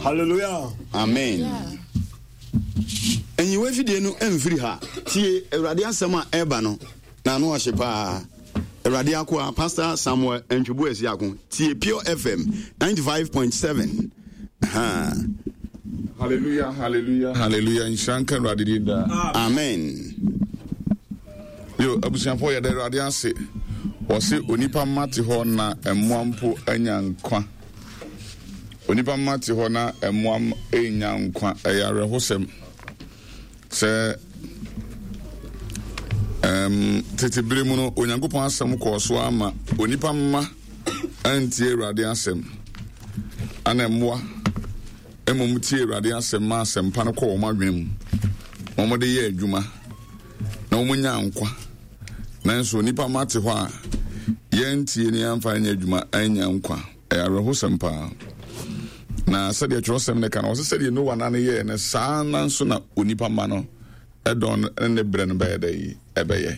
Hallelujah. Amen. Nyiwa fidie no mfiri ha. Tie Awurade asɛm a ɛreba no na ano ɔhye paa. Awurade akoa Pastor Samuel Antwibu Asiako. Tie Pure FM 95.7. Ha. Hallelujah, hallelujah, hallelujah. Nhyira nka Awurade din daa. Amen. Yo, abusuafoɔ yɛda Awurade ase. Wɔse onipa mma te hɔ na mmoa mpo anya nkwa. Onipa mma te hɔ na mmoa nya nkwa. Ɛyɛ awerɛhosɛm sɛ um, tete bere mu no Onyankopɔn asɛm kɔɔ so ama onipa mma antie Awurade asɛm ana mmoa mmom tie Awurade asɛm ma asɛmpa no kɔ wɔn adwene mu na wɔde yɛ adwuma na wɔnya nkwa. Nanso nnipa mma te hɔ a yɛntie ne yɛmfa nyɛ adwuma anya nkwa. Ɛyɛ awerɛhosɛm paa. Na sɛdeɛ twerɛsɛm no ka no, ɔsɛ sɛdeɛ Noa na no yɛɛ no saa na nso na onipa mma no ɛdɔn ne ne berɛ no bɛyɛ dɛ yi ɛbɛyɛ.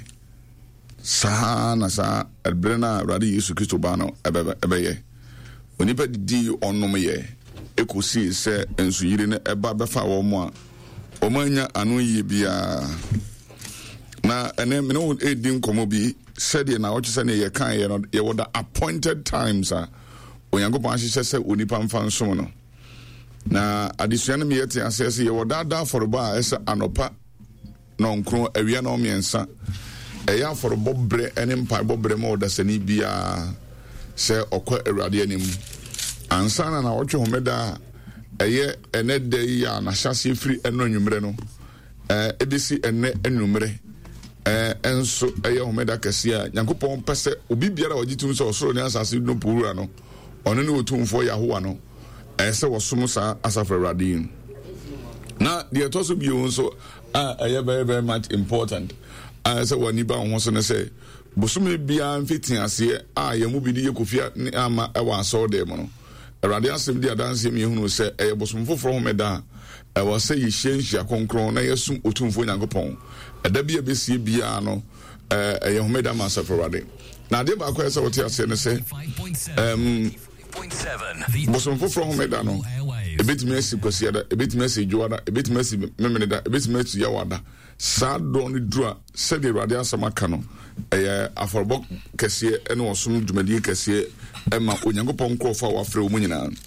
Saa na saa ɛberɛ no a Awurade Yesu Kristo ba no ɛbɛyɛ. Onipa didii ɔnom yɛ ɛkɔsii sɛ nsuyiri no ɛba bɛfa wɔn a wɔn anya ano yie biara. Na ɛnɛ mene wo ɛredi nkɔmmɔ bi sɛdeɛ na ɔkyɛ sɛdeɛ yɛkaeɛ no, yɛwɔ the appointed times a Onyankopɔn ahyehyɛ sɛ onipa mfa nsom no. Na adesua no meyɛ te aseɛ sɛ yɛwɔ daadaa afɔrebɔ a ɛsɛ anɔpa nɔnkron, awia nɔmmiɛnsa. Ɛyɛ afɔrebɔ berɛ ne mpaebɔ berɛ ma ɔdasani biara sɛ ɔkɔ Awurade anim. Ansa na naawɔtwe homeda a ɛyɛ ɛnɛ da yi a n'ahyɛaseɛ firi ɛno anwummerɛ no ɛbɛsi ɛnɛ anwummerɛ nso ɛyɛ homeda kɛseɛ a Nyankopɔn pɛ sɛ obi biara a ɔgye tom sɛ ɔsoro ne asase no po wura no, ɔno ne Otumfoɔ Yahowa no, ɛyɛ sɛ wɔsom saa asafo Awurade yi. Na deɛ ɛtɔ so bio nso a ɛyɛ very very much important a ɛsɛ wɔn ani ba wɔn ho so ne sɛ bosome biara mfitiaseɛ a yɛn mu bi de yɛ kofia ne ama ɛwɔ asɔɔdan mu no, Awurade asɛm di adanseɛ ma yɛhunu sɛ ɛyɛ bosom foforɔ homeda a ɛwɔ sɛ yɛhyia nhyia kronkron na yɛsom Otumfoɔ Nyankopɔn. Ɛda bi a ɛbɛsie biara no, ɛyɛ homeda ma asafo Awurade. Na adeɛ baako a ɛsɛ sɛ wote aseɛ ne sɛ, um, bosom foforɔ homeda no, ɛbɛtumi asi Kwasiada, ɛbɛtumi asi Dwoada, ɛbɛtumi asi Memeneda, ɛbɛtumi asi Yawada. Saa dɔn no duru a, sɛdeɛ Awurade asɛm aka no, ɛyɛ afɔrebɔ kɛseɛ ne ɔsom dwumadie kɛseɛ ma Onyankopɔn nkurɔfoɔ a wɔafrɛ wɔn nyinaa.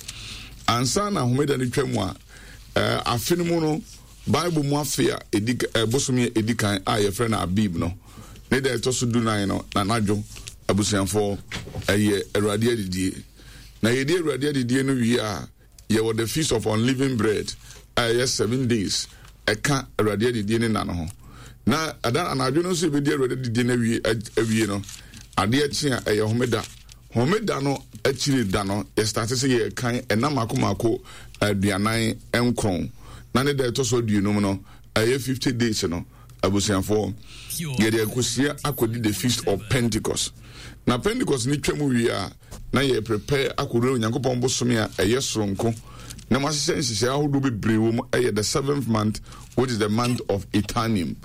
Ansa na homeda no twa mu a, afe no mu no, Bible mu afe a ɛdi bosome a ɛdi kan a yɛfrɛ no Abib no, ne da ɛtɔ so dunan no, na anadwo abusuafoɔ ɛyɛ Awurade adidie. Na yɛdi Awurade adidie no wie a, Yɛwɔ the feast of unleavened bread a ɛyɛ 7 days ɛka Awurade adidie ne nna no ho. Na ɛda anadwo no nso yɛbɛdi Awurade adidie no awie awie no, adeɛ kye a ɛyɛ homeda. Homeda no akyiri da no yɛstate sɛ yɛrekan ɛna mako mako 49, na ne da ɛtɔ so 50 no ɛyɛ 50 days no. Abusuafoɔ, yɛde akɔsia akɔdi the feast of Pentecost. Na Pentecost no twam wie a, na yɛ prepare akɔwura Onyankopɔn bosome a ɛyɛ soronko na mahyehyɛ nhyehyɛe ahodoɔ bebree wɔ mu, ɛyɛ the seventh month, which is the month of Etanim.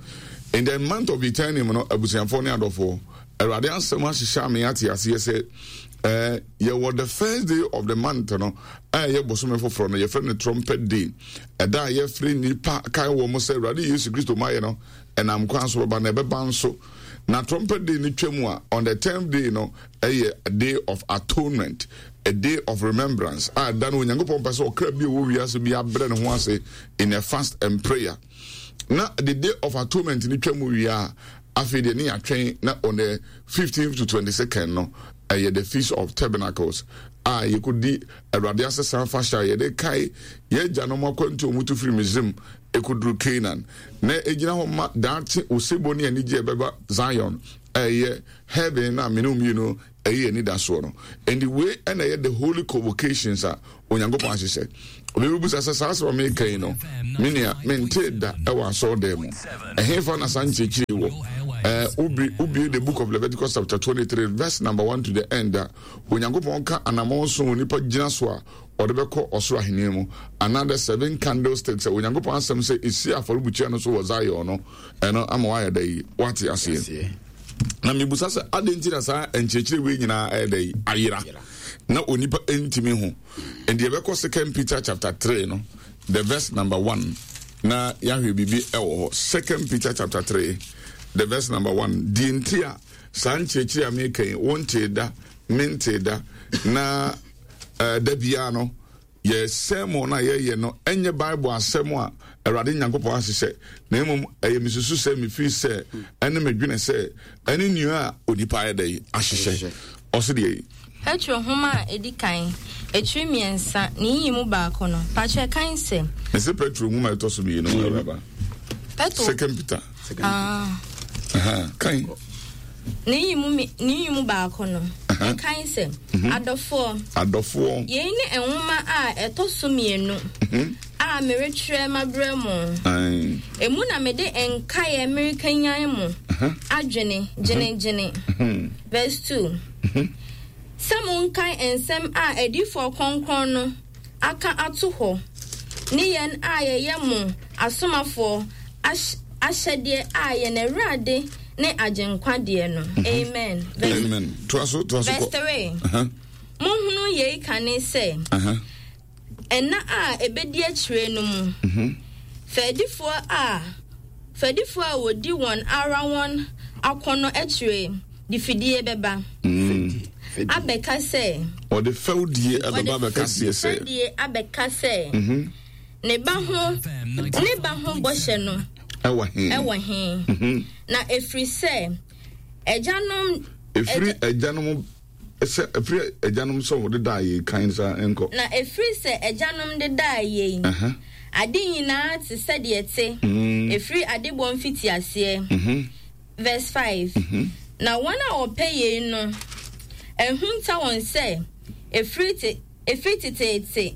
In the month of Etanim no, abusuafoɔ ne adɔfoɔ, Awurade asɛm ahyehyɛ ame ate aseɛ sɛ yɛwɔ the first day of the month no a ɛyɛ bosome foforɔ no, yɛfrɛ no trumpet day, ɛda a yɛfrɛ nnipa kae wɔ mo sɛ Awurade Yesu Kristo mayɛ no ɛnam kwan so bɛba na ɛbɛba nso. Na trumpet day no twa mu a, on the 10th day no ɛyɛ day of atonement, a day of remembrance a ɛda no Onyankopɔn pɛ sɛ ɔkra bi a ɛwɔ wiase bi abrɛ ne ho ase in a fast and prayer. Na the day of atonement no twa mu wie a, afei deɛ ne yɛatwɛn na on the 15th to 22nd no ɛyɛ the feast of tabernacles a yɛkɔdi Awurade asesa afahyɛ a yɛde kae yɛn agyanom akwantu a wɔtu firi Misraim ɛkɔduru Canaan, na ɛgyina hɔ ma daakye osebɔ ne anigye a ɛbɛba Zion a ɛyɛ heaven no a mene mmienu ɛyɛ anidasoɔ no. Ɛnti wei ɛna ɛyɛ the holy convocations a Onyankopɔn ahyehyɛ. Obi bɛbusa sɛ saa asɛm a meka yi no, me nua, mentee da ɛwɔ asɔredan mu. Ɛhefa na saa nkyerɛkyerɛ wɔ? Wobie the book of Leviticus chapter 23 verse number 1 to the end a, Onyankopɔn ka anammɔn so onipa gyina so a ɔde bɛkɔ ɔsoro ahenni mu, anaa the seven candlesticks a Onyankopɔn asɛm sɛ esi afɔrebukyia no so wɔ Zion no, ɛno ama wayɛ dɛ yi, wate aseɛ. Na mebusa sɛ adɛn nti na saa nkyerɛkyerɛ wei nyinaa ɛyɛ dɛ yi ayera? na onipa ntumi ho. Nti yɛbɛkɔ Second Peter chapter 3 no, the verse number 1 na yɛahwɛ biribi ɛwɔ hɔ. Second Peter chapter 3, the verse number 1. Deɛ nti a saa nkyerɛkyerɛ a meka yi, wontee da, mentee da, na uh, da biara no, Yɛn sermon no a yɛyɛ no nyɛ Bible asɛm a Awurade Nyankopɔn ahyehyɛ, na mmom ɛyɛ mesusu sɛ, mefiri sɛ, ɛne medwene sɛ, ɛne nea a onipa ayɛ dɛn ahyehyɛ. Ɔse deɛ yi. Petro nhoma a edi kan, etiri miensa, ne nyiyimu baako no, pakyɛ kan sɛ. Mese Petro nwoma a ɛtɔ so mienu, Awuraba. Petro. Second Peter. Ah. Aha, kan. Ne nyiyimu ne nyiyimu baako no, ɛkan sɛ, mhm. Adɔfoɔ. Adɔfoɔ. Yei ne nwoma a ɛtɔ so mienu mhm. a meretwerɛ mabrɛ mo. Emu na mede nkaeɛ merekanyan mo adwene gyenegyene. Mhm. Verse 2. Sɛ monkae nsɛm a adiyifoɔ kronkron no aka ato hɔ, ne yɛn a yɛyɛ mo asomafoɔ ahyɛdeɛ a yɛn Awurade ne Agyenkwa deɛ no. Mhm. Amen. Verse, Amen. Toa so, toa so Verse 3. Uh-huh. Monhunu yei kane sɛ, uh-huh. Nna a ɛbɛdi akyire no mu, fɛdifoɔ a fɛdifoɔ a wɔdi wɔn ara wɔn akɔnnɔ akyire de fidie bɛba abɛka sɛ. Wɔde fɛwdie bɛba abɛka seɛ sɛ. Wɔde fɛdie abɛka sɛ. Ne ba ho ne ba ho bɔhyɛ no. Ɛwɔ he? Ɛwɔ he? Na ɛfiri sɛ agyanom. Ɛfiri agyanom. Sɛ ɛfiri agyanom sɛ wɔde daa yei kan saa nkɔ. Na ɛfiri sɛ agyanom de daa yei, ade nyinaa te sɛdeɛ ɛte ɛfiri adebɔ mfitiaseɛ. Verse 5. Na wɔn a wɔpɛ yei no, ahunta wɔn sɛ ɛfiri te, ɛfiri teteete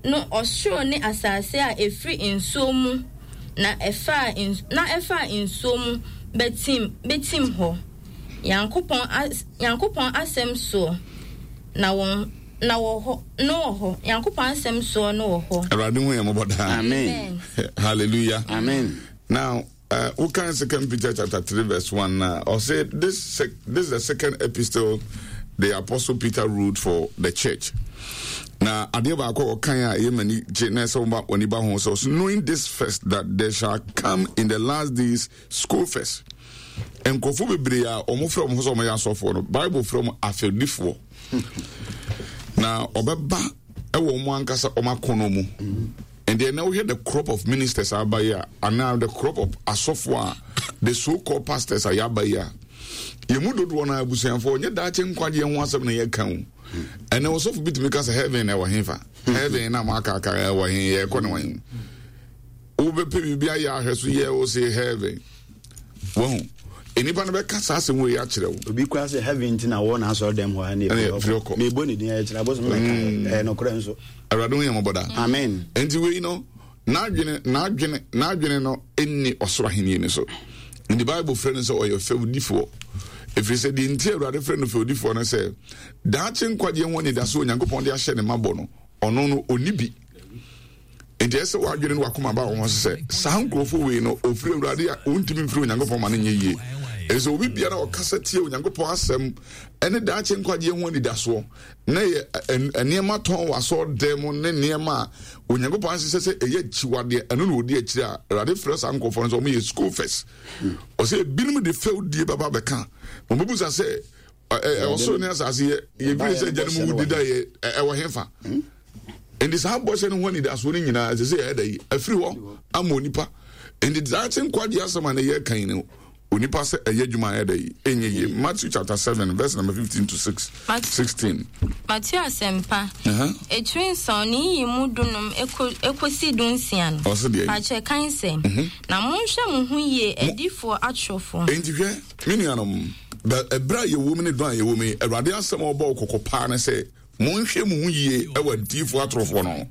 no ɔsoro ne asase a ɛfiri nsuo mu na ɛfaa na ɛfaa nsuo mu bɛtim bɛtim hɔ, Nyankopɔn as Nyankopɔn asɛm soɔ na wɔn na wɔ hɔ no wɔ hɔ Nyankopɔn asɛm soɔ no wɔ hɔ. Awurade hu yɛn mmɔbɔ daa. Amen. Hallelujah. Amen. Now, uh, kan Second Peter chapter 3 verse 1 now. Or say this sec- this is the second epistle the apostle Peter wrote for the church. Now, adeɛ baako a ɔkan a ɛyɛ m'ani gye na ɛsɛ wɔn ani ba ho sɛ knowing this first that there shall come in the last days scoffers. Nkurɔfoɔ bebree a wɔn frɛ wɔn ho sɛ wɔn yɛ asɔfoɔ no, Bible frɛ wɔn afɛdifoɔ. Na ɔbɛba ɛwɔ wɔn ankasa wɔn akɔnɔ mu. And then now we the crop of ministers aba yi a anaa the crop of asɔfo a the so called pastors a yɛaba yi a yɛn mu dodoɔ no abusuafoɔ nyɛ daakye nkwagyeɛ ho asɛm na yɛka o ɛnɛ ɔsɔfo bi tumi ka sɛ heaven na ɛwɔ he fa heaven na mo akaaka ɛwɔ he yɛkɔ ne wɔn wobɛpɛ biribi ayɛ ahwɛ so yɛ wo se heaven wahu nnipa no bɛka saa asɛm wei akyerɛ wo obi kora sɛ heaven nti na wɔ n'asɔre dɛm hɔ a ne ɛfiri ɔkɔ mebɔ ne din ɛkyerɛ abosom na mm. ɛyɛ nokorɛ nso awurade ho yɛ mmɔbɔ daa amen nti wei no n'adwene n'adwene n'adwene no nni ɔsoro ahenni no so nti bible frɛ no sɛ ɔyɛ fɛwdifoɔ ɛfiri sɛ deɛ nti awurade frɛ no fɛwdifoɔ no sɛ daakye nkwagyeɛ ho anidaso onyankopɔn de ahyɛ ne mabɔ no ɔno no ɔni bi Enti ɛsɛ sɛ w'adwene ne w'akoma ba wɔn so sɛ saa nkurɔfoɔ wei no ɔfiri Awurade a ɔntumi mfiri Onyankopɔn ma no nyɛ yie. Ɛsɛ sɛ obi biara a ɔkasa tia Onyankopɔn asɛm ne daakye nkwagyeɛ ho anidasoɔ na yɛ nneɛma tɔn wɔ asɔredan mu ne nneɛma a Onyankopɔn ahyehyɛ sɛ ɛyɛ akyiwadeɛ ɛno na ɔdi akyire a Awurade frɛ saa nkurɔfoɔ no sɛ wɔyɛ scoffers. Ɔsɛ ebinom de fɛwdie bɛba bɛka. Wɔbɛbusa sɛ ɔsoro ne asase yɛ yɛfiri sɛ agya no mu wudi da yɛ ɛwɔ hefa hmm? nti saa bɔhyɛ no ho anidasoɔ no nyinaa ɛsɛ sɛ yɛyɛ da yi afiri hɔ ama onipa nti daakye nkwagye asɛm a ne yɛ kan no onipa sɛ ɛyɛ adwuma ayɛ da yi ɛnyɛ yie Matthew chapter 7 verse number 15 to 6 16 Matthew asɛmpa etiri nson ne yiyi mu dunum ekosi dunsia no ɔsɛ deɛ pakyɛ kan sɛ mhm. na monhwɛ mo ho yie adiifoɔ atorofoɔ enti hwɛ me nuanom Ɛberɛ a yɛwɔ mu ne dɔn a yɛwɔ mu yi, Awurade asɛm a ɔbɔ wo kɔkɔ paa ne sɛ, monhwɛ mo ho yie wɔ adiyifoɔ atorofoɔ no ho.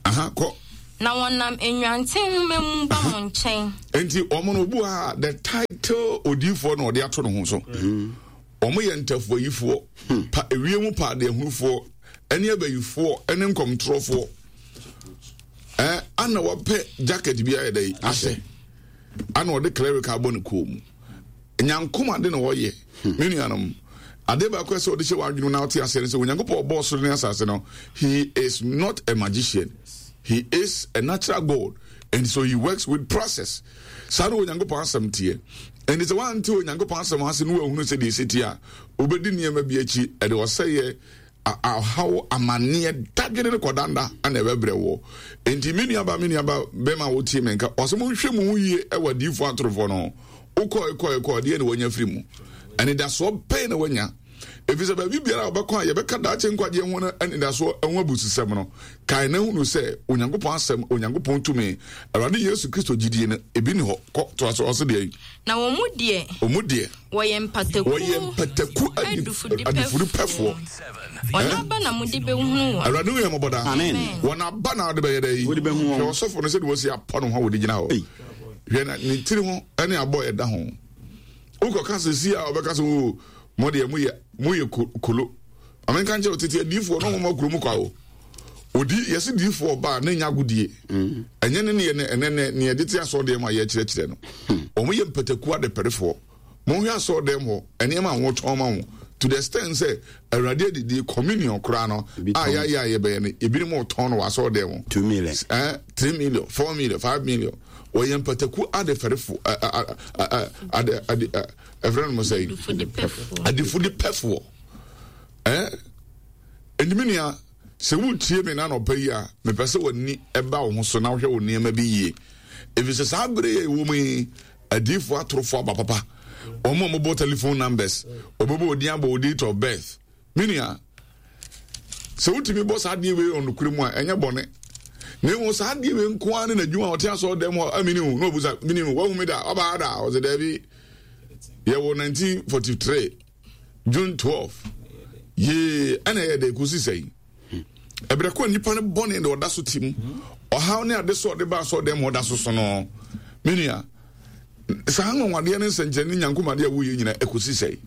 Aha, kɔ. Na wɔnam nnwanten nwoma mu ba mo nkyɛn. Enti wɔn no, obi wɔ ha a, the title odiyifoɔ na ɔde ato ne ho so. Wɔn yɛ ntafoayifoɔ, hmm. pa ewiem paadeahunufoɔ, ɛne abayifoɔ, ɛne nkɔmtorɔfoɔ. Ɛɛ, ana wɔpɛ jacket bi ayɛ dɛ ahyɛ, ana ɔde cleric abɔ ne kɔn mu. Nyankom ade na wɔyɛ, me nuanom. Adeɛ baako a ɛsɛ ɔde hyɛ w'adwene mu na wote aseɛ ne sɛ Onyankopɔn ɔbɔɔ soro ne asase no, he is not a magician. He is a natural God and so he works with process. Saa na Onyankopɔn asɛm teɛ. Ɛnti sɛ woante Onyankopɔn asɛm ase na woahunu sɛ deɛ ɛsɛ tie a, wobɛdi nneɛma bi akyi, ɛde ɔsɛeɛ, ɔhaw, amanneɛ, dadwene ne kɔdanda na ɛbɛbrɛ woɔ. Enti me nuaba, me nuaba bɛma wotie me nka, ɔsɛ monhwɛ mo ho yie wɔ adiyifoɔ atorofoɔ no ho. Wokɔe kɔe kɔe, deɛ na wanya firi mu? Anidasoɔ bɛn na wanya? Ɛfiri sɛ baabi biara a wɔbɛkɔ a yɛbɛka daakye nkwagyeɛ ho no anidasoɔ ho abususɛm no, kae na hunu sɛ Onyankopɔn asɛm, Onyankopɔn tumi, Awurade Yesu Kristo gyidie no, ebi ni hɔ. Kɔ, toa so, ɔse deɛ? Na wɔn mu deɛ. Wɔn mu deɛ. Wɔyɛ mpataku. Wɔyɛ mpataku adifudepɛfoɔ. Wɔn aba na mode bɛhunu wɔn. Awurade hu yɛn mmɔbɔ daa. Amen. Wɔn aba na wɔde bɛyɛ dɛ yi. Wɔde bɛhu wɔn. Hwɛ ɔsɔfo no sɛdeɛ wɔsi apɔ ne ho a wɔde gyina hɔ. Hwɛ na ne tiri ho ne abɔ ɛda ho. Wokɔka sɛ si a ɔbɛka sɛ o mo deɛ moyɛ moyɛ kolo. Maame nka nkyerɛ tete adiifoɔ no wɔn akuro mu kwa o. Odi yɛsi diifoɔ ɔbaa ne nya agodie. Mm. Ɛnyɛ ne neɛ ne ne ne yɛde te asɔɔ deɛ mu a yɛkyerɛkyerɛ no. Hmm. Wɔn yɛ mpataku adepɛrefoɔ. Monhwɛ asɔɔdɛm hɔ nneɛma a wɔtɔn ma wo to the extent sɛ Awurade adidie communion koraa no a yɛayɛ a yɛbɛyɛ no ebinom retɔn no wɔ asɔɔdɛm hɔ. Two million. Eh, 3 million, 4 million, 5 million. Wɔyɛ mpataku adefɛrefo ade ade ɛfrɛ no mo sɛ adifudepɛfoɔ. Eh, ɛnti nua sɛ wotie me na anɔpa yi a mepɛ sɛ w'ani ɛba wo ho so na wohwɛ wo nneɛma bi yie ɛfiri sɛ saa bere yɛ ɛwɔ mu yi adiifoɔ atorofoɔ aba papa wɔn a wɔbɔ telephone numbers wɔbɛbɔ odin abɔ o date of birth me nua sɛ wotumi bɔ saa adeɛ wei ɔnokorɛ mu a ɛnyɛ bɔne na mmom saa adeɛ wei nko ara ne n'adwuma a ɔte asɔre dɛm hɔ amini o na ɔbusa mini o wahu mi da ɔbaa da ɔsɛ daabi yɛwɔ 1943 June 12 yee ɛna ɛyɛ dɛ kɔsi sɛn ɛberɛ kɔ nnipa no bɔne de ɔda so te mu ɔhaw ne ade so ɔde ba asɔ dɛm ɔda so so no me nua saa nwanwadeɛ ne nsɛnkyerɛnne nyankomadeɛ a woyɛ nyina ɛkɔsi sɛe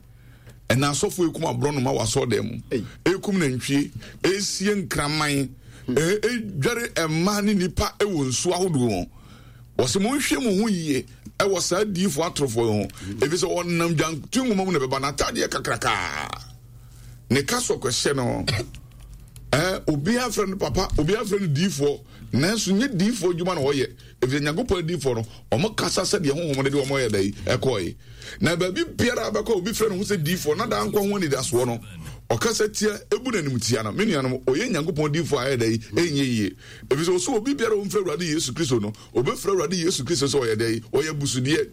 ɛna asɔfo ekum aborɔnoma wɔ asɔ dɛm mu ekum nantwie esie nkraman edware mmaa ne nipa wɔ nsuo ahodoɔ mu wɔsɛ monhwɛ mo ho yie ɛwɔ saa diifoɔ atorofoɔ yi ho ɛfiri sɛ wɔnam dwanto nwoma mu na ɛbɛba n'atadeɛ kakrakaa ne ka so kɔhyɛ no ɛɛ obiara frɛ no papa obiara frɛ no diifoɔ nanso nye diifoɔ adwuma na ɔyɛ efisɛ Nyankopɔn adiifoɔ no wɔn kasa sɛdeɛ honhom no de wɔn yɛ dɛ ɛkɔɛ na baabi biara abɛkɔ obi frɛ no ho sɛ diifoɔ na daa nkwa ho anidasoɔ no ɔkasa tia ebu n'anim tia no me nuanom ɔyɛ Nyankopɔn diifoɔ a ɛyɛ dɛ ɛnyɛ yie efisɛ ɔsɛ obi biara ɔmfrɛ Awurade Yesu Kristo no ɔbɛfrɛ Awurade Yesu Kristo sɛ ɔyɛ dɛ ɔyɛ busudeɛ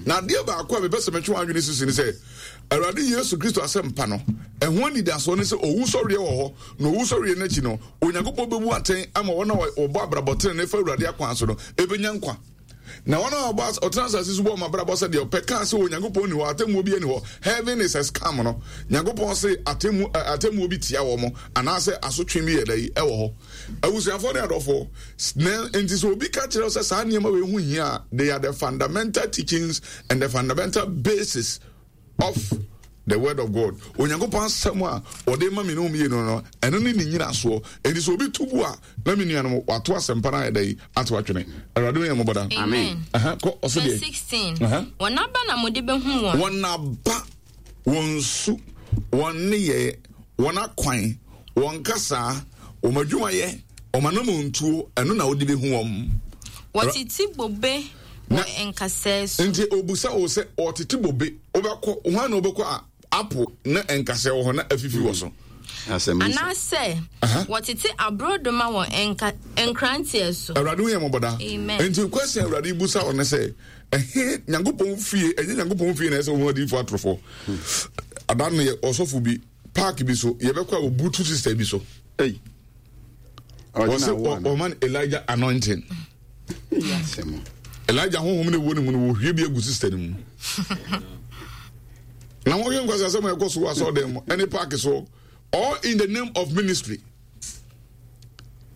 na adeɛ baako a mepɛ sɛ metwe wɔn adwene sisi ne sɛ Awurade Yesu Kristo asɛmpa no, ɛho anidasoɔ ne sɛ owusɔreɛ wɔ hɔ, na owusɔreɛ no akyi no, Onyankopɔn bɛbu atɛn ama wɔn a wɔbɔ abrabɔ tenenee fa Awurade akwan so no ɛbɛnya nkwa. Na wɔn a wɔbɔ ɔtena asase so bɔ wɔn abrabɔ sɛ deɛ ɔpɛ kaa sɛ Onyankopɔn ni hɔ, atemmuo bi ani hɔ, heaven is a scam no, Nyankopɔn se atemmu atemmuo bi tia wɔn anaasɛ asotwe bi yɛ dɛ ɛwɔ hɔ. Abusuafoɔ ne adɔfoɔ, na nti sɛ obi ka kyerɛ sɛ saa nneɛma wei ho hia a, they are the fundamental teachings and the fundamental basis of the word of God. Onyankopɔn asɛm a ɔde ma me ne mmienu no, ɛno ne ne nyinasoɔ. Enti sɛ obi to bu a, na me nuanom wato asɛmpa no ayɛ dɛ ato atwene. Awurade yɛ mmɔbɔ da. Amen. Kɔ ɔsɛ deɛ. Verse 16. Wɔn aba na mode bɛhu wɔn. Wɔn aba, wɔn su, wɔn nneyɛɛ, wɔn akwan, wɔn kasaa, wɔn adwumayɛ, wɔn anammɔntuo, ɛno na wode bɛhu wɔn. Wɔtete bobe wɔ nkasɛɛ so. Nti obusa wo sɛ ɔtete bobe, wobɛkɔ, hwan na wobɛkɔ a apple na nkasɛɛ wɔ hɔ na afifi wɔ so? Anaasɛ wɔtete aborɔdoma wɔ nka nkranteɛ so. Awurade hu yɛn mmɔbɔ daa. Amen. Nti question Awurade busa wo ne sɛ, ɛhe Nyankopɔn fie, ɛnyɛ Nyankopɔn fie na ɛsɛ wɔn adiifo atorofo. Ada no yɛ ɔsɔfo bi park bi so yɛbɛkɔ a obutu sister bi so. Hey. Wɔsɛ ɔma no Elijah anointing. Elijah honhom na ɛwɔ ne mu no wɔhwie bi agu sister no mu. Na wɔhwɛ nkwasi asɛm a ɛkɔ so wɔ asɔrɔdan mu ɛne park so all in the name of ministry.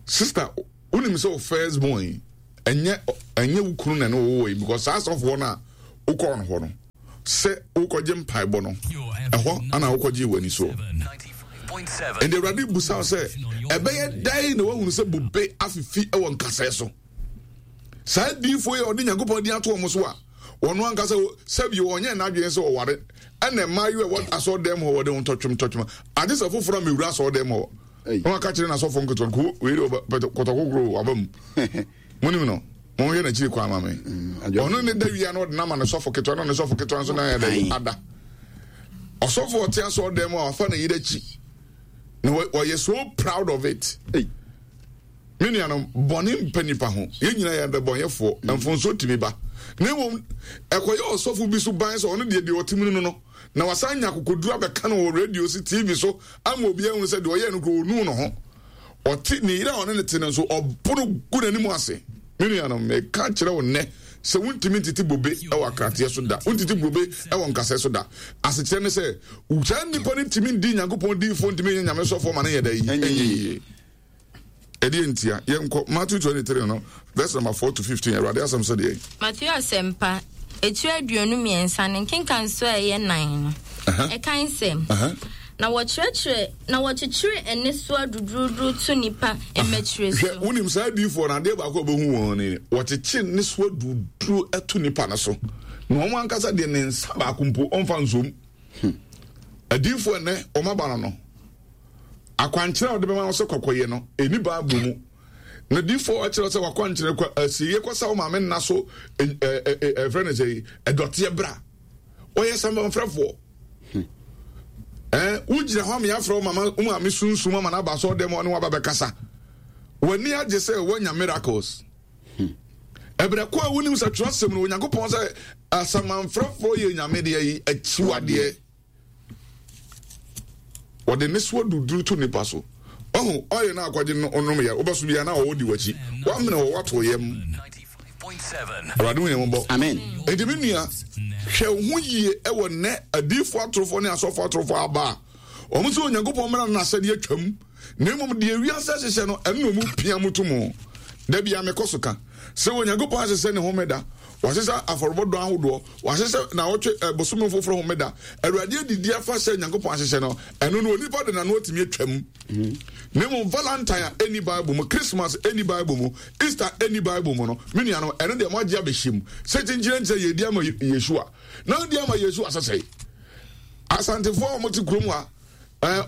Sister, wonim sɛ wo first born yi ɛnyɛ ɛnyɛ wo kunu na ɛne wo wɔ yi because saa asɔfoɔ no a wokɔɔ no hɔ no sɛ wokɔgye mpaebɔ no ɛhɔ ana wokɔgye w'ani soɔ. Ɛnde Awurade busa wo sɛ ɛbɛyɛ dɛn na woahunu sɛ bobe afifi wɔ nkasɛɛ so? Saa adiyifoɔ yi a ɔde Nyankopɔn din ato wɔn so a. Ɔno ankasa sɛbi ɔnyɛ n'adwene sɛ ɔware ɛna mmaayewa ɛwɔ asɔɔdan mu hɔ wɔde ntɔtwem ntɔtwem agye sɛ foforɔ a mewura asɔɔdan mu hɔ na waka kyerɛ n'asɔfo nketewa ko wei de kɔtɔkokoro waba mu monim no monhwɛ n'akyiri kwan ma me mm, ɔno ne da wia na ɔde nama ne sɔfo ketewa na ne sɔfo ketewa nso na yɛ dɛ ada ɔsɔfo ɔte asɔɔdan mu a wafa ne yere akyi na ɔyɛ so proud of it. Hey. Me nuanom, bɔne mpa nnipa ho. Yɛn nyinaa yɛ adebɔnyɛfoɔ. Mfomsoɔ tumi ba. Na mmom, ɛkɔyɛ ɔsɔfo bi so ban sɛ ɔno deɛ deɛ ɔte mu no no, na wasan anya akokoduru abɛka no wɔ radio so, TV so, ama obiara ahunu sɛ deɛ ɔyɛɛ no koraa ɔnuu ne ho. Ɔte, ne yere a ɔne no te no nso, ɔbo no gu n'anim ase. Me nuanom, meka kyerɛ wo nnɛ sɛ wontumi ntete bobe wɔ akrateɛ so da. Wontete bobe wɔ nkasɛɛ so da. Asekyerɛ ne sɛ, saa nnipa no ntumi ndi Nyankopɔn diyifoɔ, ntumi nyɛ Nyame sɔfoɔ ma no nyɛ dɛ? Ɛnyɛ yie. Ɛdeɛ ntia? Yɛnkɔ Matthew 23 no verse number 4 to 15. Awurade asɛm sɛ deɛ. Matthew asɛmpa, etire 23 ne nkenkansoɔ a ɛyɛ nan no, ɛkan sɛ, Na wɔkyerɛkyerɛ, na wɔkyekyere nnesoa duruduru to nnipa mmatire so. Hwɛ, wonim saa adiyifoɔ no, adeɛ baako a wɔbɛhu wɔn ni, wɔkyekye nnesoa duruduru to nnipa no so, na wɔn ankasa deɛ ne nsa baako mpo ɔmfa nsom. Hmm. Adiyifoɔ ɛnɛ wɔn aba no no, Akwankyerɛ a wɔde bɛma wo sɛ kɔkɔyɛ no, ɛnni Bible mu. Na difoɔ akyerɛ sɛ wakwankyerɛ kɔ asieɛ kɔsa wo maame nna so ɛfrɛ no sɛ ɛdɔteɛ bra. Ɔyɛ samanfrɛfoɔ. Ɛɛ wogyina hɔ ama yɛafrɛ wo mama wo maame sunsum ama no aba sɛ ɔdɛm ɔne waba bɛkasa. W'ani agye sɛ woanya miracles. Ɛberɛ ko a wonim sɛ twerɛsɛm no Onyankopɔn sɛ asamanfrɛfoɔ yɛ nyame deɛ yi akyiwadeɛ. Wɔde nnesoa duduru to nnipa so. Ɔho ɔyɛ no akɔgye no ɔnom yɛ wobɛso biara na ɔwɔ di w'akyi. Wamene wɔ wato yam. Awurade hu yɛn mmɔbɔ. Amen. Enti me nua, hwɛ wo ho yie ɛwɔ nnɛ adiyifoɔ atorofoɔ ne asɔfoɔ atorofoɔ aba a wɔn sɛ Onyankopɔn mmara no n'asɛdeɛ atwam na mmom deɛ wiase ahyehyɛ no ɛno na wɔn pia mu to mu. Da bia mekɔ so ka sɛ Onyankopɔn ahyehyɛ ne homeda, wahyehyɛ afɔrebɔ dɔn ahodoɔ, Wɔahyehyɛ naawɔtwe ɛ bosome foforɔ homeda. Awurade adidi afahyɛ a Nyankopɔn ahyehyɛ no, ɛno no onipa de n'ano atumi atwam. Na mmom Valentine a ɛnni Bible mu, Christmas ɛnni Bible mu, Easter ɛnni Bible mu no, me nuanom, ɛno deɛ moagye abɛhyɛ mu sɛ kyenkyerenkyerɛ yɛredi ama Yeshua. Na wodi ama Yeshua sɛ sɛe. Asantefoɔ a wɔte kurom ha,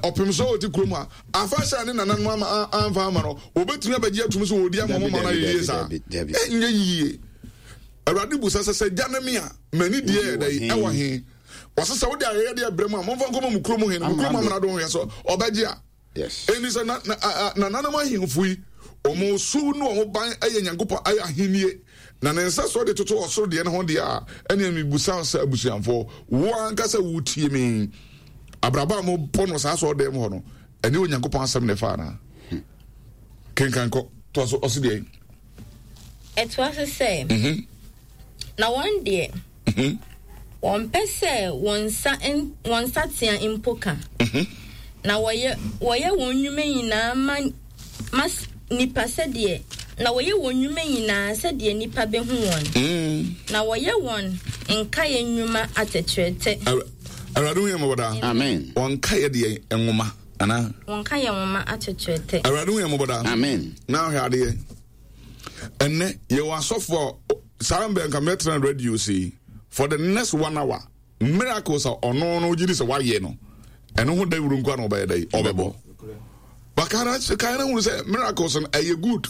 ɔpem so a wɔte kurom ha, afahyɛ a ne nananom ama amfa ama no, wɔbɛtumi abɛgye atum sɛ wɔredi ama wɔn ma no ayɛ yie saa? Ɛnyɛ yie. Awurade busa sɛ, Sɛ agya ne me a, m'ani deɛ yɛ dɛn? Ɛwɔ he? Ɔse sɛ wode ayɛyɛdeɛ brɛ mu a, momfa nkɔma mo kurom hene, mo kurom amrado nhwɛ sɛ ɔbɛgye a. Enti sɛ nananom ahemfo yi, wɔn su ne wɔn ban yɛ Nyankopɔn ayɛ ahennie, na ne nsɛsoɔ de toto ɔsoro deɛ no ho deɛ a, ɛnneɛ mebusa wo sɛ abusuafoɔ, wo ankasa wotie me, abrabɔ a mobɔ no saa asɔredan mu hɔ no, ɛne Onyankopɔn asɛm na ɛfa anaa? Kenkan kɔ, toa so, ɔse deɛ. Ɛtoa so sɛ, mhm. Na wɔn deɛ, mhm. wɔmpɛ sɛ wɔn nsa wɔn nsatea mpo ka, mhm. na wɔyɛ wɔyɛ wɔn nnwuma nyinaa ma ma nipa sɛdeɛ na wɔyɛ wɔn nnwuma nyinaa sɛdeɛ nipa bɛhu wɔn, mm. na wɔyɛ wɔn nkaeɛ nnwuma atɛtrɛtɛ. Awurade hu yɛn mmɔbɔ daa. Amen. Wɔn nkaeɛ deɛ nwoma anaa. Wɔn nkaeɛ nwoma atɛtrɛtɛ. Awurade hu yɛn mmɔbɔ daa. Amen. Na ahwɛ adeɛ. Ɛnɛ yɛwɔ asɔfo a saa mbɛ nka mɛtena radio sei for the next one hour miracles a ɔno no gye di sɛ wayɛ no ɛno ho dawuro nko na ɔbɛyɛ dɛ ɔbɛbɔ bakara kan na hunu sɛ miracles no ɛyɛ good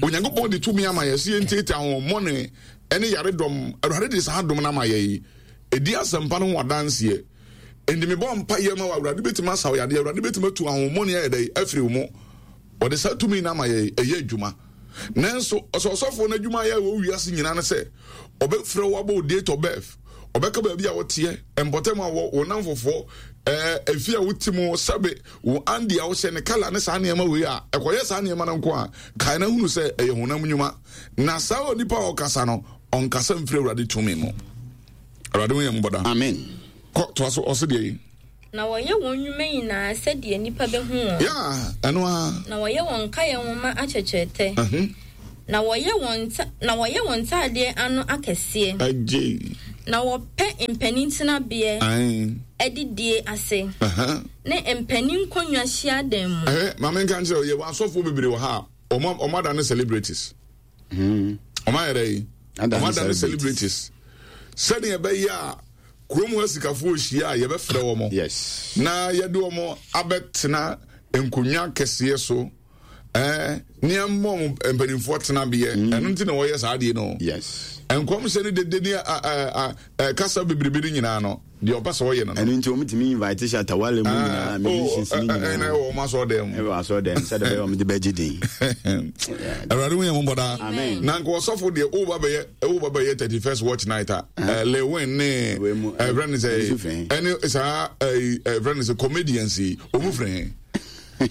Onyankopɔn de tumi ama yɛ sɛ yɛntiatia ahohommɔne ɛne yaredɔm. Awurade de saa dom no ama yɛ yi ɛdi asɛmpa no ho adanseɛ. Enti mebɔ mpa yɛ ma wɔ Awurade bɛtumi asa wo yadeɛ, Awurade bɛtumi atu ahohommɔne ayɛ dɛ afiri wo mu. Ɔde saa tumi no ama yɛ ɛyɛ adwuma. Nanso ɔsɛ ɔsɔfoɔ no adwuma yɛ wɔ wiase nyinaa no sɛ ɔbɛfrɛ wo abɔ wo date of birth, ɔbɛka baabi a woteɛ, mpɔtam a wɔ, wo namfofoɔ, ɛɛ efi a wote mu, sɛbe wo andi a wohyɛ ne kala ne saa nneɛma wei a ɛkɔyɛ saa nneɛma no nko a, kae na hunu sɛ ɛyɛ honam nnwuma. Na saa onipa a ɔkasa no, ɔnkasa mfiri Awurade tumi mu. Awurade hu yɛn mmɔbɔ daa. Amen. Kɔ toa so, ɔse deɛ yi. Na wɔyɛ wɔn nnwuma nyinaa sɛdeɛ nnipa bɛhu wɔn. Yeah, ɛno ara. Na wɔyɛ wɔn nkaeɛ nwoma akyɛkyerɛtɛ. Uh -huh. Na wɔyɛ wɔn nta na wɔyɛ wɔn ntaadeɛ ano akɛseɛ. Agye. Na wɔpɛ mpanin tenabeɛ adidie ase. Uh -huh. Ne mpanin nkonnwa hyiadan mu. Ɛhɛ, maame nka nkyerɛ yɛwɔ asɔfoɔ bebree wɔ ha a wɔn adane celebrities. Hmm. Wɔn ayɛ dɛ yi. Wɔn adane celebrities. Sɛdeɛ ɛbɛyɛ a kurom hɔ asikafoɔ hyia a yɛbɛfrɛ wɔn. Yes. Na yɛde wɔn abɛtena nkonnwa kɛseɛ so. Ɛɛ ne ɛmmɔ wɔn mpanimfoɔ tenabeɛ. Mm. Ɛno nti na wɔyɛ saa adeɛ no. Yes. Nkɔmhyɛ ne dede ne a a kasa bebrebe no nyinaa no deɛ ɔpɛ sɛ ɔyɛ no no. Ɛno nti wɔn tumi invite Shatta Wale mu nyinaa musicians ne nyinaa. Ɛna ɛwɔ wɔn asɔ dɛm. Ɛwɔ asɔ dɛm sɛdeɛ bɛyɛ wɔn de bɛgye din. Awurade hu yɛn mmɔbɔ daa. Amen. Na nka ɔsɔfo deɛ woba bɛyɛ woba bɛyɛ 31st watch night a Lil Wayne ne ɛfrɛ no sɛ ɛne saa ɛfrɛ no sɛ comedians yi wɔn firi he.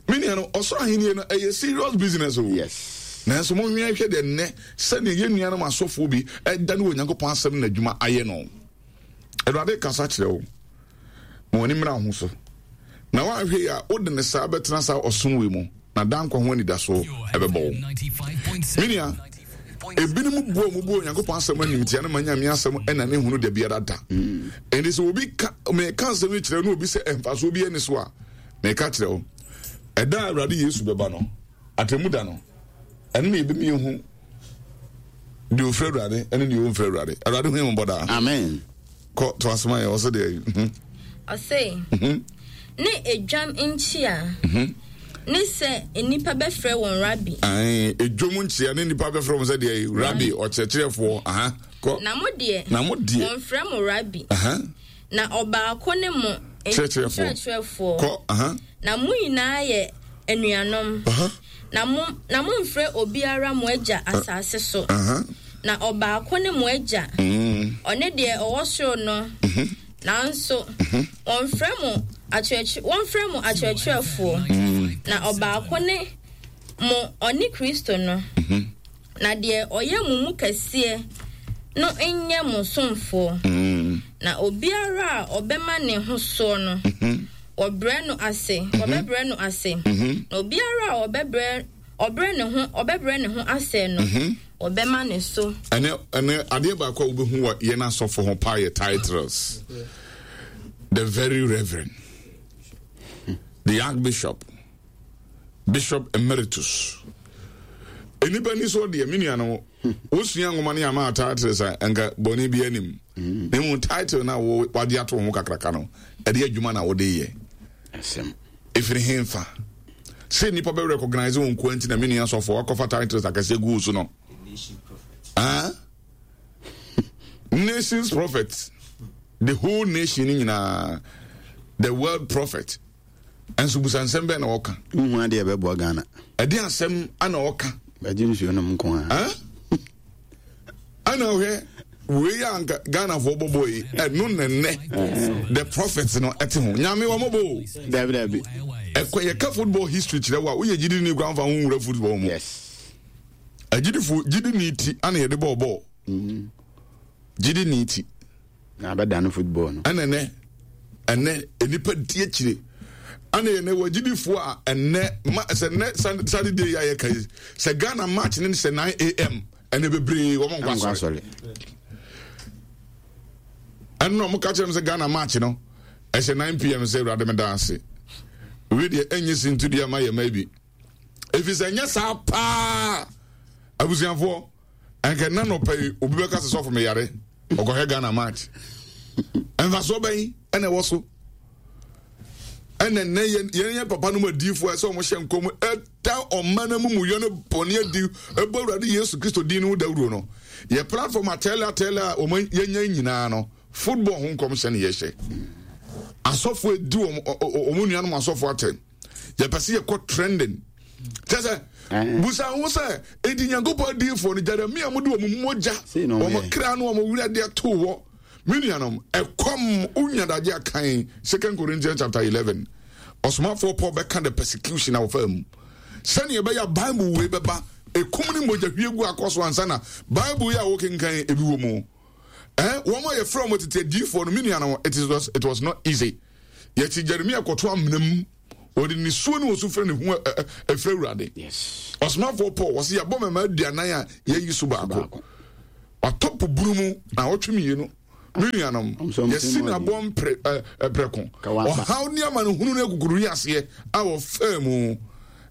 Me nua no ɔsoro ahenni no ɛyɛ serious business o. Yes. Nanso monhwɛ hwɛ deɛ nnɛ sɛdeɛ yɛn nuanom asɔfoɔ bi ɛda ne wɔ Onyankopɔn asɛm na adwuma ayɛ no. Awurade kasa kyerɛ wo. Ma w'ani mmra ho so. Na woanhwɛ yi a, wode ne saa bɛtena saa ɔsom wei mu, na daa nkwa ho anidasoɔ ɛbɛbɔ wo. Me nua, ebinom bu a wɔbu Onyankopɔn asɛm animtia no ma Nyame asɛm ɛna ne hunu da biara da. Ɛnti sɛ obi ka, meka asɛm yi kyerɛ no obi sɛ mfasoɔ bi ɛni so a, meka kyerɛ wo, ɛda a Awurade Yesu bɛba no, atemmu da no, ɛno na yɛbɛmi yɛhu deɛ ɔfiri Awurade ɛne deɛ ɔmfiri Awurade. Awurade hu yɛn mmɔbɔ daa. Amen. Kɔ to asoma yɛ ɔsɛ deɛ. Mhm. Ɔse mhm. ne edwam nkyia mhm. ne sɛ nnipa bɛfrɛ wɔn rabi. Edwam nkyia ne nnipa bɛfrɛ wɔn sɛ deɛ rabi ɔkyerɛkyerɛfoɔ. Aha kɔ. Na mo deɛ. Na mo deɛ. Wɔnfrɛ mo rabi. Aha. Na ɔbaako ne mo kyerɛkyerɛfoɔ. Kɔ aha. Na mo nyinaa yɛ anuanom. Aha. Na mo na momfrɛ obiara mo agya asase so. Na ɔbaako ne mo agya, mm. ɔne deɛ ɔwɔ soro no. Mm-hmm. Nanso mm-hmm. wɔmfrɛ mo akyerɛkyerɛ wɔmfrɛ mo akyerɛkyerɛfoɔ. Mm. Na ɔbaako ne mo ɔne Kristo no. Mm-hmm. Na deɛ ɔyɛ mo mu kɛseɛ no nyɛ mo somfoɔ. Mm. Na obiara a ɔbɛma ne ho soɔ no, wɔbrɛ no ase, wɔbɛbrɛ no ase. Na obiara a ɔbɛbrɛ ɔbrɛ ne ho ɔbɛbrɛ ne ho ase no, wɔbɛma ne so. Ɛnɛ ɛnɛ adeɛ baako a wobɛhu wɔ yɛn asɔfo ho paa yɛ titles. The very reverend, the archbishop, bishop emeritus. Nnipa ni so deɛ me nua no wosua nwoma ne ama titles a nka bɔne bi anim. Na mmom title no a wagye ato ho kakraka no ɛde adwuma na wode yɛ. Ɛfiri hemfa sɛ nnipa bɛ recognize wo nkoa nti na me nua sɔfo wakɔfa titles akɛseɛ gu wo so no. Ah? Nations prophet, the whole nation nyinaa, the world prophet. Ɛnso busa nsɛm bɛn na ɔka. Nhu adeɛ ɛbɛboa Ghana. Ɛde asɛm ana ɔka. Bɛgye nsuo nom nko ara. Ana ɔhwɛ wei a nka Ghanafoɔ bɔbɔ yi ɛno nɛnɛ the prophet no ɛte ho nyame wɔn bɔ o. Dabi dabi. Ɛkɔ yɛka football history kyerɛ wo a woyɛ gyidi ni kwan fa ho nwura football mu. Yes. Agyidifo gyidi ni ti ana yɛde bɔɔ bɔɔl. Mm. Gyidi ni ti. Na abɛdane football no. Ɛna ɛnɛ ɛnɛ nnipa di akyire ɛna yɛn wɔ agyidifoɔ a ɛnɛ ma sɛ ɛnɛ Saturday yi a yɛka yi sɛ Ghana match ne sɛ 9 am ɛnɛ bebree wɔn nkɔ asɔre ɛno na wɔn ka kyerɛ m sɛ Ghana match no ɛhyɛ 9 pm sɛ awurade me da ase wei deɛ ɛnyɛ sintudua ma yɛ ma bi ɛfiri sɛ ɛnyɛ saa paa abusuafoɔ ɛnka nna nɔpɛ yi obi bɛka sɛ sɔfo meyare ɔkɔhwɛ ghana match mfasoɔ bɛn ɛna ɛwɔ so ɛna nnɛ yɛn yɛn papa no mu adiifoɔ ɛsɛ wɔn hyɛ nkɔm ɛda ɔman no mu mu yɛ no bɔne adi ɛbɔ awurade yesu kristo din no ho dawuro no yɛ platform atɛlɛ atɛlɛ a wɔn yɛnya nyinaa no football ho nkɔm hyɛ ne yɛhyɛ asɔfo edi wɔn wɔn nuanom asɔfo atɛn yɛpɛ sɛ yɛkɔ trending kyɛ sɛ eh. busa ho sɛ enti nyankopɔn adiyifoɔ no jeremia mu de wɔn mogya wɔn kra no wɔn werɛ deɛ too hɔ me nuanom ɛkɔm wonya dagye akan second corinthians chapter 11 ɔsomafoɔ paul bɛka the persecution a wɔfaa mu sɛnea ɛbɛyɛ bible wei bɛba ɛkum ne mogya hwie gu akɔ so ansa na bible yi a wokenkan ebi wɔ mu eh, wɔn a yɛfrɛ wɔn tete adiyifoɔ no me nuanom it was, it was not easy Yɛte Jeremia kɔto amena mu. Wɔde nisuo ne osu frɛ ne ho ɛfrɛ Awurade. Ɔsomafoɔ Paul wɔsi yɛabɔ mɛma aduanan a yɛyi so baako. Watɔ po bunu mu na ɔtwe mmienu. Me nuanom, yɛsi na abɔ mpere ɛprɛko. Ɔhaw ne amanehunu ne akukuru aseɛ a wɔfaa mu.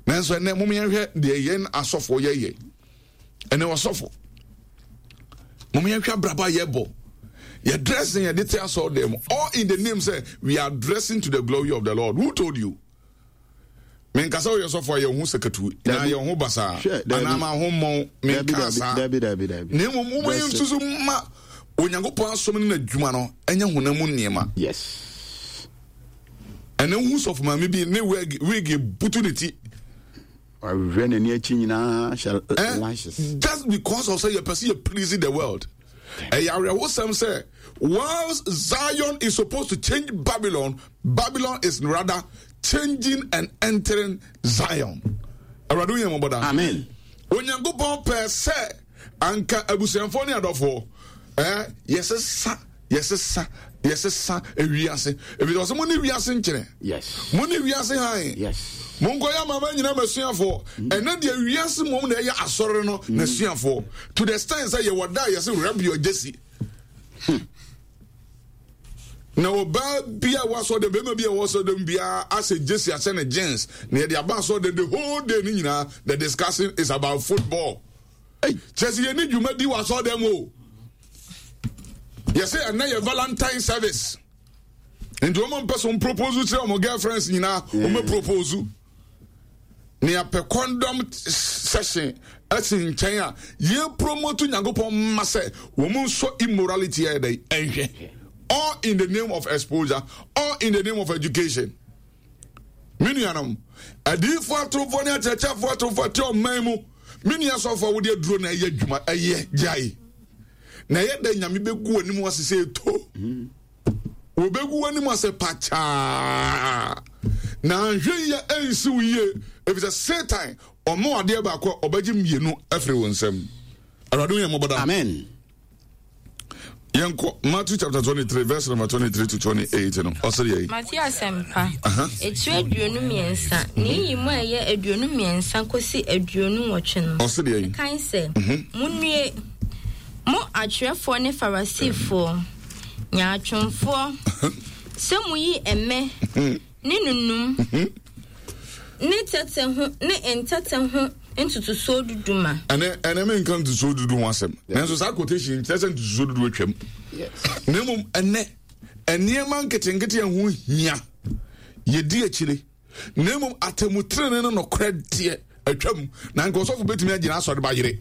Nanso ɛnɛ mom yɛnhwɛ deɛ yɛn asɔfoɔ yɛyɛ. Ɛnɛ ɔsɔfo. Mom yɛnhwɛ abrabɔ a yɛbɔ. Yɛ dressing yɛde te asɔre dɛm mu. All in the name sɛ we are dressing to the glory of the Lord. Who told you? Menkasa woyɛ sɔfo a yɛn ho sakatu na yɛn ho basaa anaa ma ho mmɔn menka saa. Na mmom woma yɛn nsusu ma Onyankopɔn asom ne n'adwuma no ɛnyɛ honam mu nneɛma. Yes. Ɛnɛ wohu sɔfo maame bi ne wig wig butu ne ti. Ɔhwɛ n'ani akyi nyinaa hyɛ eh, lashes. Just because of sɛ yɛpɛ sɛ yɛ please the world. Ɛyɛ awerɛhosɛm sɛ whilst Zion is supposed to change Babylon, Babylon is rather changing and entering Zion. Awurade wo yɛn mmɔbɔ da. Amen. Onyankopɔn pɛɛ sɛ anka abusuafoɔ ne adɔfoɔ eh, yɛsesa yɛsesa yɛsesa ewiase ebi ɔsɛ mo ne wiase nkyerɛ yes mo ne wiase han yes mo nkɔ yɛ amama nyina masuafoɔ mm. ɛnɛ deɛ wiase mom na ɛyɛ asɔre no mm. n'asuafoɔ to the extent sɛ yɛwɔ da a yɛsɛ rub your jersey hmm. na ɔbaa bi a wasɔ dɛm bɛrima bi a wɔsɔ dɛm biara asɛ jersey ahyɛ ne jeans na yɛde aba asɔ dɛm the whole day ne nyinaa the discussion is about football kyerɛ sɛ yɛne dwuma di wɔ asɔ dɛm o yɛsɛ ɛnɛ yɛ valentine service nti wɔn mpɛ so propose kyerɛ wɔn girlfriends nyinaa wɔn bɛ propose ne apɛ condom session ɛsi nkyɛn a yɛ promote nyankopɔn mma sɛ wɔn nso immorality yɛ dɛ ɛnhwɛ all in the name of exposure all in the name of education me nuanom adiifoɔ atorofoɔ ne akyerɛkyerɛfoɔ atorofoɔ te ɔman mu me nua sɔfoɔ wode aduro na ɛyɛ adwuma ɛyɛ gyae na ɛyɛ dɛ nyame bɛgu w'anim ase sɛ ɛto wɔbɛgu w'anim ase pakyaa na anhwɛ yie ɛnsi wo yie ɛfisɛ satan ɔmo adeɛ baako a ɔbɛgye mmienu afiri wo nsam. Awurade hu yɛn mmɔbɔ daa. Amen. Yɛnkɔ Matthew chapter 23 verse number 23 to 28 no. Ɔsɛ yɛ yi. Matthew asɛmpa etire 23 ne yi mu a ɛyɛ 23 kɔsi 28 no. Ɔsɛ deɛ yi. Kan sɛ, mhm. Munnue, mo atwerɛfoɔ ne Farisifoɔ, nyaatwomfoɔ, sɛ moyi ɛmɛ mhm. ne nunum mhm. ne tɛtɛ ho ne ntɛtɛ ho ntotosoɔ dudu ma. Ɛnɛ ɛnɛ mi nka ntotosoɔ dudu ho asɛm nanso saa quotation nkyerɛ sɛ ntotosoɔ dudu atwam na mmom ɛnɛ nneɛma nketenkete a ɛho hia yɛdi akyire na mmom atemmutenene no nokorɛ deɛ atwam na nka ɔsɔfo bɛtumi agyina asɔre ba yere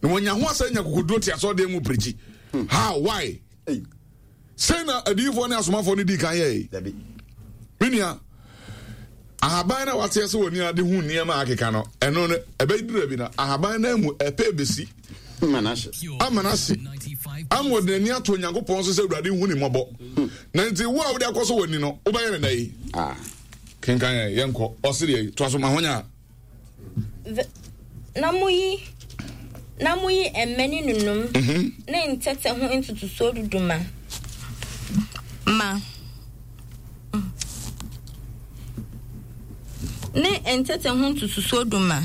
na wɔnya ho asɛ nya kokoduro te asɔre mu pirikyi how why Sei na adiyifoɔ ne asomafoɔ no dii kan yɛe. Me nua, ahaban na wateɛ sɛ wɔni ade hu nneɛma a akeka no, ɛno no, ɛbɛduru bi no, ahaban no mu ɛpɛ bɛsi. Ama no ahye. Ama ɔde n'ani ato Onyankopɔn so sɛ Awurade hu ne mmɔbɔ. Na nti wo a wode akɔ so w'ani no, wobɛyɛ ne dɛ yi. Ah. Kenkan yɛn, yɛnkɔ. Ɔse deɛ, toa so ma honya. Na moyi na moyi mmɛ ne nunum mhm. ne ntɛtɛ ho ntotosoɔ dudu ma ma ne ntɛtɛ ho ntotosoɔ du ma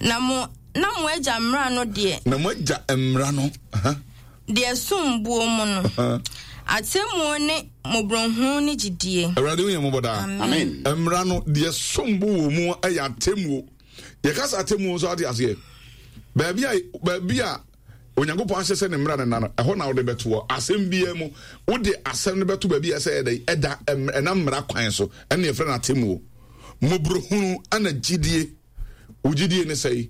na mo na mo agya mmara no deɛ na mo agya mmara no Deɛ ɛsom boɔ mu no, atemmuo ne mmɔborɔhunu ne gyidie. Awurade hu yɛn mmɔbɔ daa. Amen. Mmara no, deɛ ɛsom bo wɔ mu yɛ atemmuo. Yɛka sɛ atemmuo nso ate aseɛ. Baabi a baabi a Onyankopɔn ahyɛ sɛ ne mmara no na no, ɛhɔ na wode bɛtoɔ. Asɛm biara mu, wode asɛm no bɛto baabi a ɛsɛ ɛdɛ ɛda ɛna mmara kwan so, ɛna yɛfrɛ no atemmuo. Mmɔborɔhunu ɛna gyidie. Wo gyidie ne sɛe.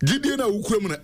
Gyidie no a wokura mu no.